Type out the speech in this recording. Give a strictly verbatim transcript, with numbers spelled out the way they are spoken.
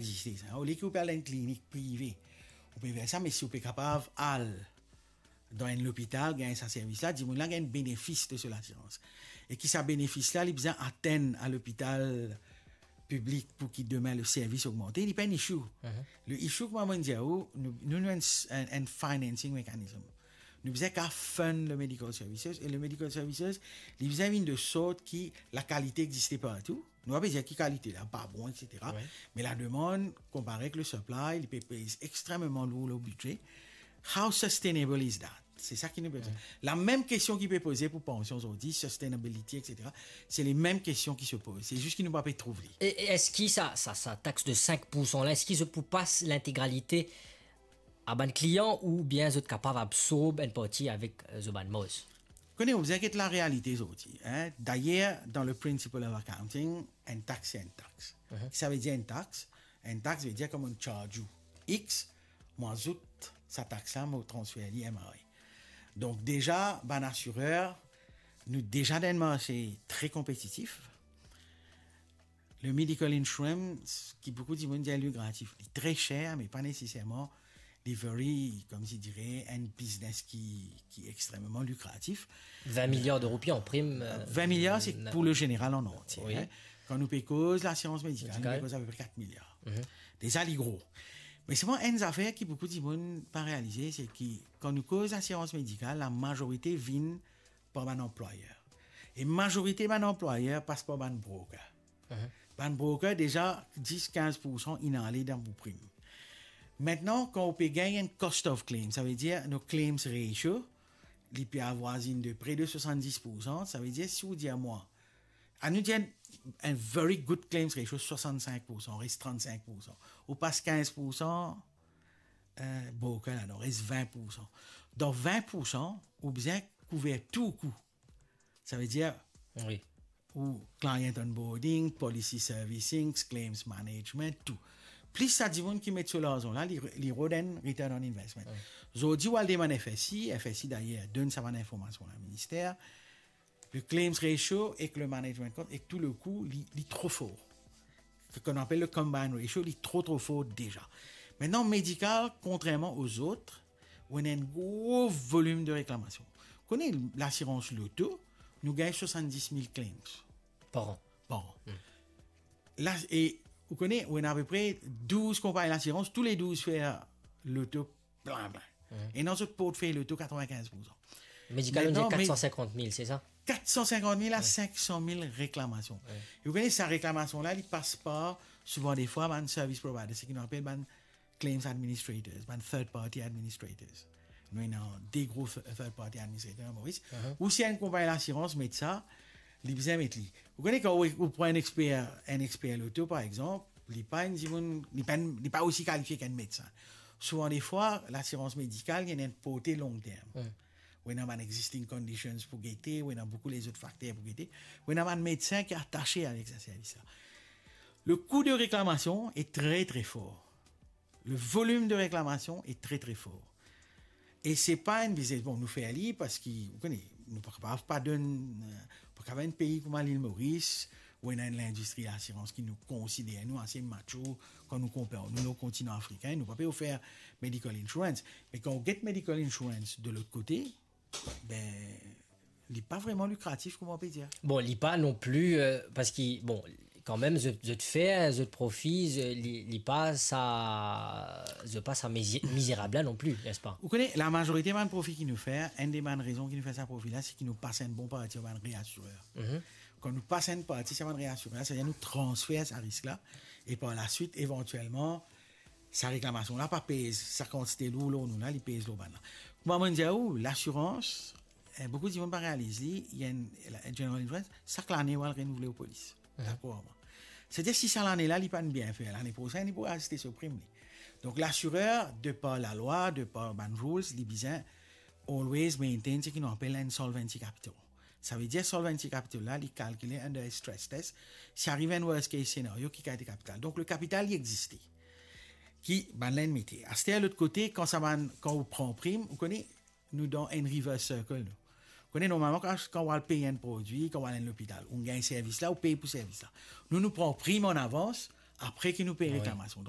existe sa. Olie ki ou pe al dan enn klinik prive, ou pe fer sa, me si ou pe kapav al dan enn lopital, gagn sa servis la, dimoun la gagn benefis de so lasirans. E ki sa benefis la, li bizin atenn a lopital piblik pou ki demin le servis ogmante, li pa enn issue. Le issue, kouma mo dir ou, nou, nou, nou enn, enn, enn financing mechanism. Nou bizin kapav fund le medical services, e le medical services, li bizin vinn de sort ki lakalite existe partou. Nou pa pe dir ki kalite la pa bon, et cetera. Wi. Me lademann, konpare ek le supply, li pe pez extrememan lour lor bidze. How sustainable is that? Se sa ki nou pe... Wi. Lamem kestion ki pe poze pou pansion zordi, sustainability, et cetera, se lemem kestion ki se poz. Se zis ki nou pa pe trouv li. E, e eski sa, sa, sa tax de cinq pour cent la, eski zot pou pas lintegralite a bann klian oubien zot kapav absorb enn parti avek, eh, zot bann marz? Kone, ou bizin get larealite zordi, hein. Dayer, dan le principle of accounting, enn tax se enn tax. Mhm. Ki sa ve dir enn tax? Enn tax ve dir kouma mo charge ou X, mo azout sa tax la, mo transfer li M R A. Donk deza, bann asirer, nou deza dan enn marse tre konpetitif. Le medical insurance, ki boukou dimoun dir lukratif, li tre ser, me pa neseserman li very, kouma dir, enn biznes ki, ki extrememan likratif. Vin miliar de roupi an prim, eh, vin miliar, se pou le zeneral an antie, wi, hein. Kan nou pe koz lasirans medikal, nou pe koz apepre kat miliar. Mhm. Deza, li gro. Me selman enn zafer ki boukou dimoun pa realize, se ki kan nou koz lasirans medikal, lamazorite vinn par bann anplwayer. E mazorite bann anplwayer pas par bann broker. Mhm. Bann broker, deza dis, kinz pour san inn ale dan pou prim. Aster, kan ou pe gagn enn cost of claim, sa ve dir nou claims ratio, li pe avwazinn de pre de swasanndis pour san, sa ve dir si ou dir mwa, anou dir enn, enn very good claims ratio, swasannsink pour san, res trannsink pour san. Ou pas kinz pour san, eh, broker la, donk res vin pour san. Dan vin pour san, ou bizin kouver tou kou. Sa ve dir, wi, ou client onboarding, policy servicing, claims management, tou. Plis sa dimoun ki met so larzan la, li, li rod enn return on investment. Wi. Zordi, ou al demann F S I, F S I dayer donn sa bann informasion la minister, le claims ratio ek le management cost ek tou le kou, li, li tro for. Ki nou apel le combined ratio, li tro, tro for deza. Aster, medikal, kontrerman o zot, ou ena enn gro volim de reklamasion. Kone lasirans loto, nou gagn swasanndis mil claims. Par an. Par an. Hmm. La, e ou kone, ou ena apepre douz konpagni lasirans, tou le douz fer loto plin, plin. Hmm. Ena zot portfey loto katrevinkinz pour san. Medikal, nou dir kat san sinkant mil, se sa? Wi. Kat san sinkant mil a sink san mil reklamasion. Wi. E ou kone sa reklamasion la, li pas par, souvan defwa, bann service providers, seki nou apel bann claims administrators, bann third party administrators. Nou ena de gro th-, third party administrators an Moris. Mhm. Ou si enn konpagni lasirans met sa, li bizin met li. Ou kone kan ou, ou pran enn exper, enn exper loto, par exanp, li pa enn dimoun, li pa enn, li pa osi kalifie ki enn medsin. Souvan defwa, lasirans medikal, li ena enn porte long term. Mhm. Ou ena bann existing conditions pou gete, ou ena boukou lezot fakter pou gete, ou ena bann medsin ki atase avek sa servis la. Le kou de reklamasion e tre, tre for. Le volim de reklamasion e tre, tre for. E se pa enn biznes, bon, nou fer li parski, ou kone, nou pa kapav pa donn, eh, pa kapav enn pei kouma Lil Moris, ou ena enn lindistri asirans ki nou konsider nou ase macho kan nou konpar nou lor kontinan afrikin, nou pa pe ofer medical insurance. Me kan ou get medical insurance de lot kote, be, li pa vreman likratif, kouma ou pe dir. Bon, li pa non pli, eh, parski, bon, kanmem, zot, zot fer, zot profi, zot, li, li pa sa, zot pa sa mizi-, mizerab la non pli, nespa? Ou kone, lamazorite bann profi ki nou fer, enn de bann rezon ki nou fer sa profi la, se ki nou pas enn bon parti ar bann reasirer. Mhm. Kan nou pas enn parti sa bann reasirer, savedir nou transfer sa risk la, e par laswit, evantielman, sa reklamasion la pa pez, sa kantite lour lor nou la, li pez lor bann la. Kouma mo dir ou, lasirans, eh, boukou dimoun pa realiz li, li ena enn, la, general insurance, sak lane ou al renouvle ou polis. Mhm. Dakor? Savedir si sa lane la, li pa'nn bien fer, lane prosenn, li pou aziste so prim li. Donk, lasirer, de par lalwa, de par bann rules, li bizin always maintain seki nou apel enn solvency capital. Savedir solvency capital la, li kalkile under stress test. Si ariv enn worst case scenario, ki kalite kapital. Donk, le kapital, li existe. Ki bann la inn mete. Aster, lot kote, kan sa bann, kan ou pran prim, ou kone, nou dan enn reverse circle, nou. Ou kone, normalman, kan, kan ou al pey enn prodwi, kan ou al enn lopital, ou gagn servis la, ou pey pou servis la. Nou, nou pran prim an avans, apre ki nou pey reklamasion.